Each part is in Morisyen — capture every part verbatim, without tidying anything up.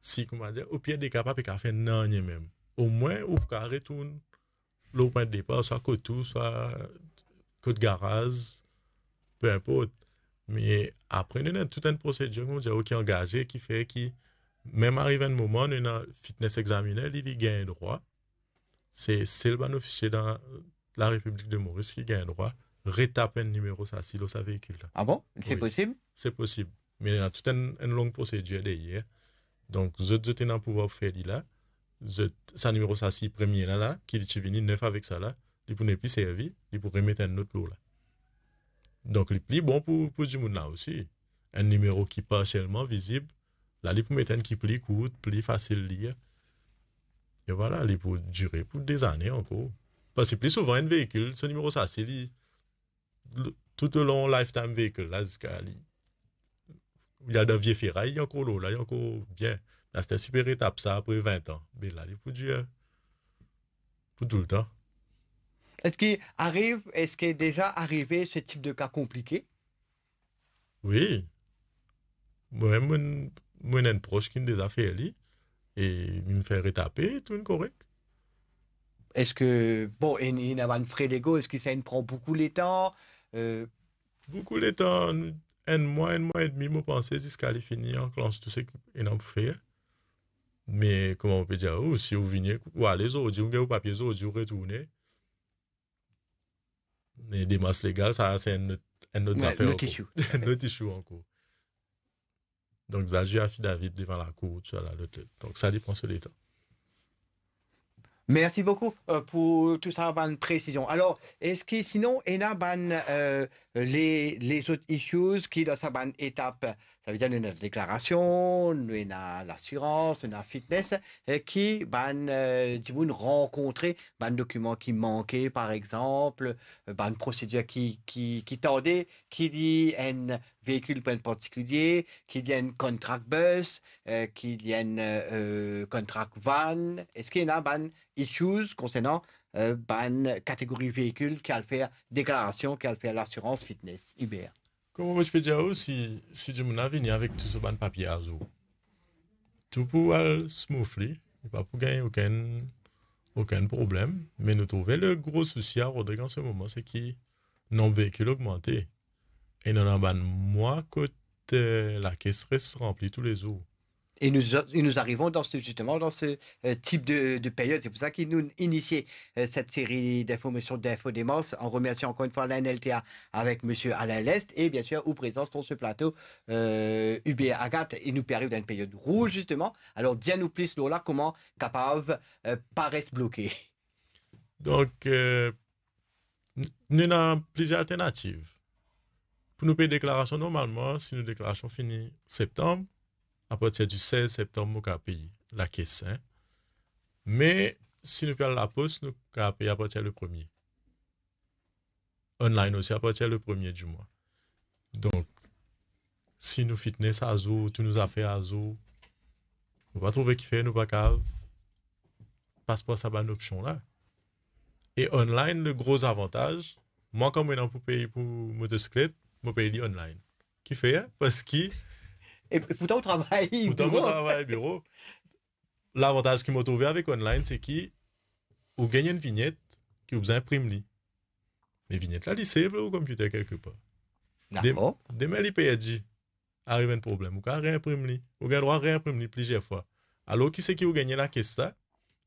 si, kouma dir, o pir de ka, pa pe kav fer nanye mem. Omwin, ou pou kav retourn lor pwin depar, swa kot ou, swa kot garaz, pe inport. Me apre, nou ena tou enn prosedir, kouma dir, ki angaze, ki fer ki, mem ariv enn moman, nou ena fitness examiner, li, li gagn drwa. Se sel bann ofisie dan Larepiblik de Moris ki gagn drwa retap enn nimero SACI lor sa veikil la. Ah bon? Se posib? Se posib. Me ena tou enn, enn long prosedir deryer. Donk, zot, zot ena pouvwar pou fer li la. Zot, sa nimero SACI premie la, la, ki li ti vini nef avek sa la, li pou nepli servi, li pou remet enn lot lor la. Donk, li pli bon pou, pou dimoun la osi. Enn nimero ki parsielman vizib, la, li pou met enn ki pli kourt, pli fasil lir. E vwala, li pou dire pou dezane ankor. Parski pli souvan, enn veikil, so nimero SACI, li, l-, toutlong lifetime veikil la, ziska li, li al dan vie feray, li ankor lor la, li ankor bien. Aster, si pe retap sa apre vin an, be la, li pou dir, pou toultan. Eski ariv, eski deza arive se tip de ka konplike? Wi. Mwa, mo, mo ena enn pros ki deza fer li, e li fer retape, tou inn korek. Eski, bon, ena, ena bann fre legal, eski sa inn pran boukou letan? Euh, boukou letan, enn mwa, enn mwa edmi, mo panse, ziska li fini anklanse tou seki ena pou fer. Me, kouma mo pe dir, ou, si ou vini, ou ale zordi, ou gagn ou papie zordi, ou retourne. Me demars legal, sa, se enn lot, enn lot zafer ankor. Enn lot issue. Enn lot issue ankor. Donk, zot al zwe affidavit devan lakour, tousala, lot, lot. Donk, sa, li pran so letan. Merci beaucoup, euh, pour tout sa, bann presizion. Alor, eski sinon, ena bann, euh, le, lezot issues ki dan sa bann etap? Savedir, nou ena deklarasion, nou ena lasirans, nou ena fitness, eh, ki bann, euh, dimoun rankontre, bann dokiman ki manke, par exanp, euh, bann prosedir ki, ki, ki tarde, ki li enn veikil pou enn partikilie, ki li enn contract bus, euh, ki li enn, euh, contract van. Eski ena bann issues konsernan, euh, bann kategori veikil ki al fer deklarasion, ki al fer lasirans fitness, Hubert? Kouma mo ti pe dir ou, si, si dimoun la vini avek tou so bann papie azour, tou pou al smoothly, li pa pou gagn okenn, okenn problem. Me nou trouve le gro sousi a Rodrig an se moman, se ki nonb veikil ogmante. E nou ena bann mwa kot, euh, lakes res ranpli toulezour. Et nous, nous arrivons dans ce, justement, dans ce, euh, type de, de période. C'est pour ça que nous initier, euh, cette série d'informations, d'Info Démence, en remerciant encore une fois l'A N L T A avec monsieur Alain Lest et bien sûr, ou présence sur ce plateau, euh, Hubert Agathe. Et nous arrivons dans une période rouge, justement. Alors, dis-nous plus, Lola, comment capable, euh, pas rester bloqué. Donk, euh, n-, nou ena plizier alternativ. Pou nou pey deklarasion normalman, si nou deklarasion fini septanm, apartir di sez septanm, nou kav pey lakes, hein. Me, si nou pe al lapos, nou kav pey apartir le premie. Online osi, apartir le premie di mwa. Donk, si nou fitness azour, tou nou zafer azour, mo pa trouve kifer nou pa kav pas par sa bann opsion la. E online, le gro zavantaz, mwa, kan mo ena pou pey pou motosiklet, mo pey li online. Kifer? Parski... E pourtan, ou travay biro. Pourtan, mo travay biro. Lavantaz ki mo trouve avek online, se ki ou gagn enn vinyet ki ou bizin inprim li. Me vinyet la, li save lor ou computer kelkepar. Dakor. Dem-, demin li perdi, ariv enn problem, ou kav reinprim li. Ou gagn drwa reinprim li plizier fwa. Alor ki seki ou gagne lakes la,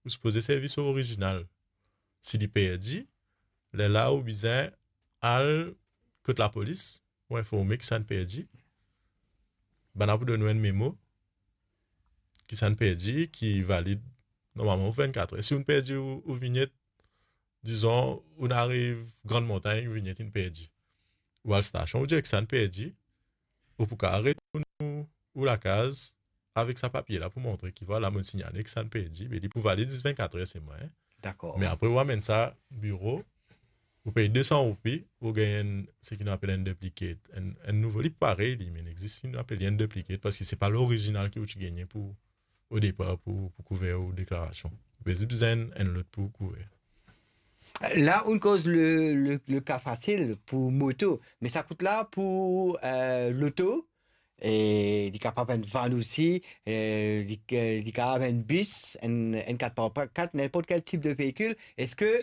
ou sipoze servi so orizinal. Si li perdi, lerla ou bizin al kot lapolis, ou informe ki sa'nn perdi. Bann la pou donn ou enn memo ki sa'nn perdi, ki valid normalman pou vennkat er. Si ou perdi ou, ou vinyet, dizon, ou ariv Grann Montagn, ou vinyet inn perdi. Ou al stasion, ou dir ki sa'nn perdi, ou pou kav retourn ou, ou lakaz avek sa papie la pou montre ki, vwala, mo'nn signale ki sa'nn perdi, be li pou valid zis vennkat er selman, hein. Dakor. Me apre, ou amenn sa biro, ou pey de san roupi, ou gagn enn, seki nou apel enn duplicate, enn, enn nouvo, li parey li, me inn existe, nou apel li enn duplicate, parski se pa lorizinal ki ou ti gagne pou, o depar pou, pou kouver ou deklarasion. Ou pe zis bizin enn lot pou kouver. La, ou koz le, le, le ka fasil pou moto, me sa kout la pou, euh, loto, e li kapav enn van osi, e li, e li kapav enn bis, enn, enn kat par kat, ninport kel tip de veikil. Eski